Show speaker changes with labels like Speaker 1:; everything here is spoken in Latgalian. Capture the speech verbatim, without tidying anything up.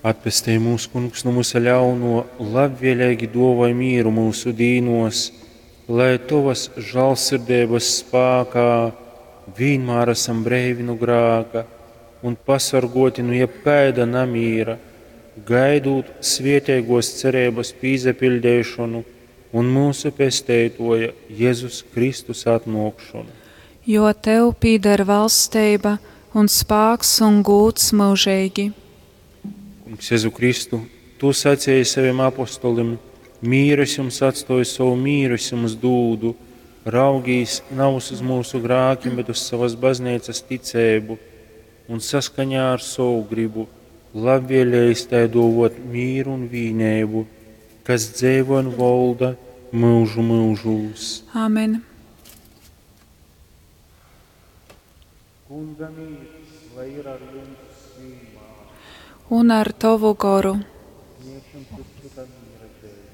Speaker 1: Atpestej mūs, Kungs, nu vysa ļaunuo, labvieleigi duovoj mīru myusu dīnuos, lai Tovas žālsirdeibys spākā vīnmār asam breivi nu grāka un pasorguoti nu jebkaida namīra, gaidūt svieteiguos cereibys pīsapiļdeišonu un myusu Pesteituoja Jezus Kristus atnuokšonu.
Speaker 2: Jo Tev pīder valsteiba un spāks un gūds myužeigi.
Speaker 1: Kungs Jezu Kristu, Tu saceji savim apostolim: Mīru es jums atstoju, sovu mīru es jums dūdu. Raugīs navys uz myusu grākim, bet uz savas bazneicas ticeibu un saskaņā ar sovu gribu labvēlējis tai duovot mīru un vīneibu, kas dzeivo un volda myužu myužūs.
Speaker 2: Āmen.
Speaker 1: Kunga mīrs, lai ir ar jums vienmēr.
Speaker 2: Un ar Tovu goru.
Speaker 1: Sniegsim cits cytam mīra zīmi.